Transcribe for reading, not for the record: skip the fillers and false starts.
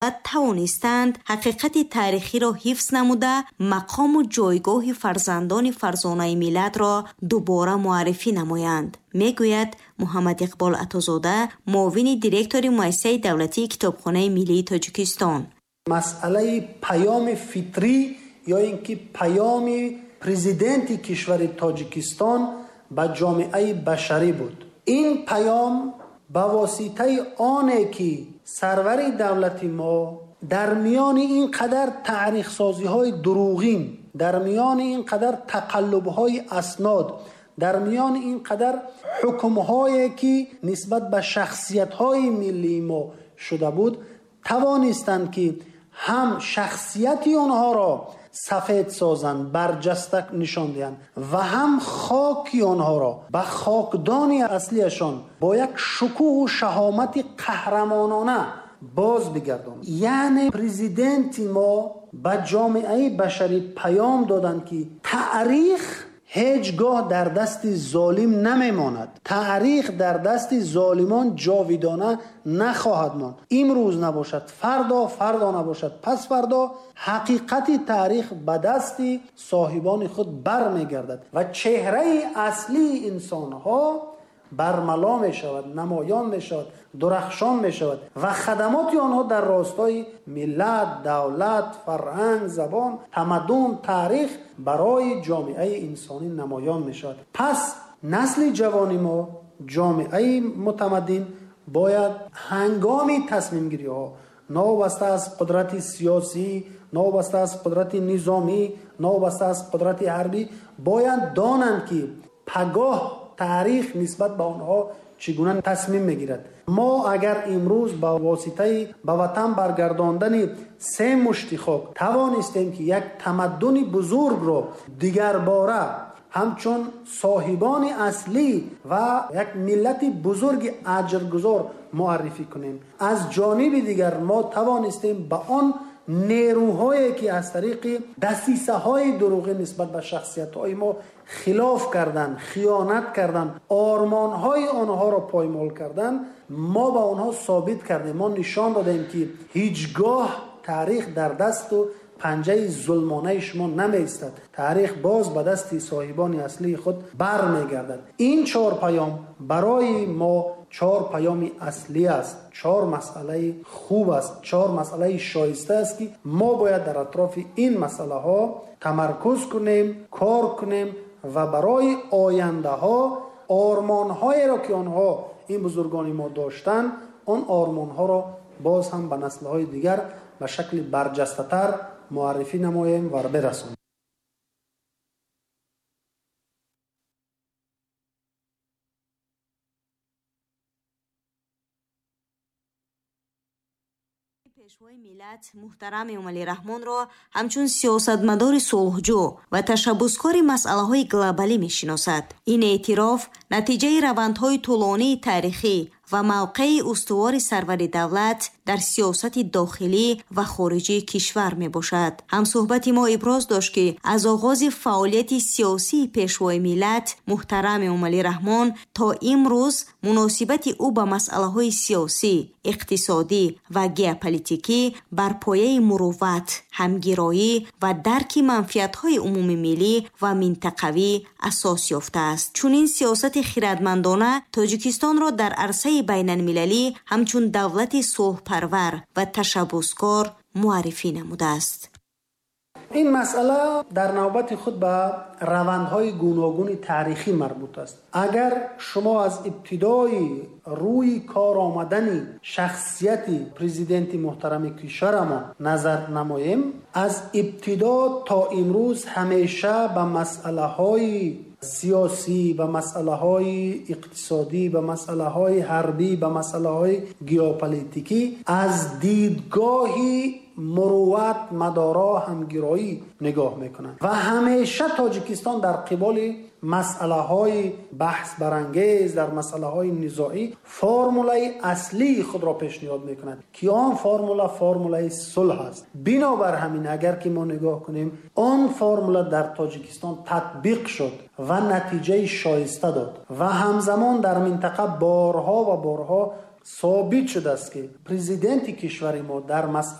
Тавонистанд ҳақиқати таърихиро ҳифз намуда, мақому ҷойгоҳи фарзандони фарзонаи миллатро дубора муаррифӣ намоянд, мегӯяд Муҳаммад Иқбол Атозода, муовини директори Муассисаи давлатии Китобхонаи миллии Тоҷикистон. Масъалаи паёми фитрӣ ё ин ки паёми президенти кишвари Тоҷикистон ба ҷомеаи башарӣ буд. Ин паём ба воситаи оне ки сарвари давлати мо дар миёни ин қадар таърихсозиҳои дурӯғин, дар миёни ин қадар тақаллубҳои аснод, дар миёни ин қадар ҳукмҳое ки нисбат ба шахсиятҳои миллии мо шуда буд, тавонистанд ки ҳам шахсияти онҳоро сафед созанд, барҷаста нишон диҳанд ва ҳам хоки онҳоро ба хокдони аслияшон бо як шукӯҳу шаҳомати қаҳрамонона боз бигардонанд. Яъне президенти мо ба ҷомеаи башарӣ паём доданд, ки таърих ҳеҷ гоҳ дар дасти золим намемонад, таърих дар дасти золимон ҷовидона нахоҳад монд. Имрӯз набошад, фардо, фардо набошад, пас фардо ҳақиқати таърих ба дасти соҳибони худ бармегардад ва чеҳраи аслии инсонҳо бармало мешавад, намоён мешавад, дурахшон мешавад ва хадамоти онҳо дар ростои миллат, давлат, фарҳанг, забон, тамаддун, таърих барои ҷомеаи инсонӣ намоён мешавад. Пас насли ҷавони мо, ҷомеаи мутамаддин, бояд ҳангоми тасмимгириҳо новобаста аз қудрати сиёсӣ, новобаста аз қудрати низомӣ, новобаста аз қудрати ҳарбӣ, бояд донанд, ки пагоҳ таърих нисбат ба онҳо чӣ гуна тасмим мегирад. Мо агар имрӯз ба воситаи ба ватан баргардондани се мушти хок тавонистем, ки як тамаддуни бузургро дигарбора ҳамчун соҳибони аслӣ ва як миллати бузурги аҷргузор муаррифӣ кунем, аз ҷониби дигар мо тавонистем ба он нерӯҳое ки аз тариқи дасисаҳои дурӯғӣ нисбат ба шахсиятҳои мо хилоф карданд, хиёнат карданд, ормонҳои онҳоро поймол карданд, мо ба онҳо собит кардем, мо нишон додем, ки ҳеҷ гоҳ таърих дар дасту панҷаи зулмонаи шумо намеистад, таърих боз ба дасти соҳибони аслии худ бармегардад. Ин чор паём барои мо чор паёми аслӣ аст, чор масъалаи хуб аст, чор масъалаи шоиста аст, ки мо бояд дар атрофи ин масъалаҳо тамаркуз кунем, кор кунем ва барои ояндаҳо ормонҳоеро ки онҳо, ин бузургони мо доштанд, он ормонҳоро боз ҳам ба наслҳои дигар ба шакли барҷастатар муаррифӣ намоем ва бирасонем. Пешвои миллат муҳтарам Эмомалӣ Раҳмонро ҳамчун сиёсатмадори сулҳҷӯ ва ташаббускори масъалаҳои глобалӣ мешиносад. Ин эътироф натиҷаи равандҳои тӯлонии таърихӣ ва мавқеи устувори сарвари давлат дар сиёсати дохилӣ ва хориҷии кишвар мебошад. Ҳамсӯҳбати мо иброз дошт, ки аз оғози фаъолияти сиёсии пешвои миллат муҳтарам Эмомалӣ Раҳмон то имрӯз муносибати ӯ ба масъалаҳои сиёсӣ, иқтисодӣ ва геополитикӣ бар пояи мурувват, ҳамгироӣ ва дарки манфиатҳои умумимиллӣ ва минтақавӣ асос ёфтааст. Чунин сиёсати хирадмандона Тоҷикистонро дар арсаи байналмилалӣ ҳамчун давлати сулҳпарвар ва ташаббускор муаррифӣ намудааст. Ин масъала дар навбати худ ба равандҳои гуногуни таърихӣ марбут аст. Агар шумо аз ибтидои рӯи кор омадани шахсияти президенти муҳтарами кишварамон назар намоем, аз ибтидо то имрӯз ҳамеша ба масъалаҳои сиёсӣ, ба масъалаҳои иқтисодӣ, ба масъалаҳои ҳарбӣ, ба масъалаҳои геополитикӣ аз дидгоҳи мурувват, мадоро, ҳамгироӣ нигоҳ мекунанд ва ҳамеша Тоҷикистон дар қиболи масъалаҳои баҳсбарангез, дар масъалаҳои низоӣ формулаи аслии худро пешниҳод мекунад, ки он формула формулаи сулҳ аст. Бинобар ҳамин агар ки мо нигоҳ кунем, он формула дар Тоҷикистон татбиқ шуд ва натиҷаи шоиста дод ва ҳамзамон дар минтақа борҳо ва борҳо Собит шудааст, ки президенти кишвари мо дар масъала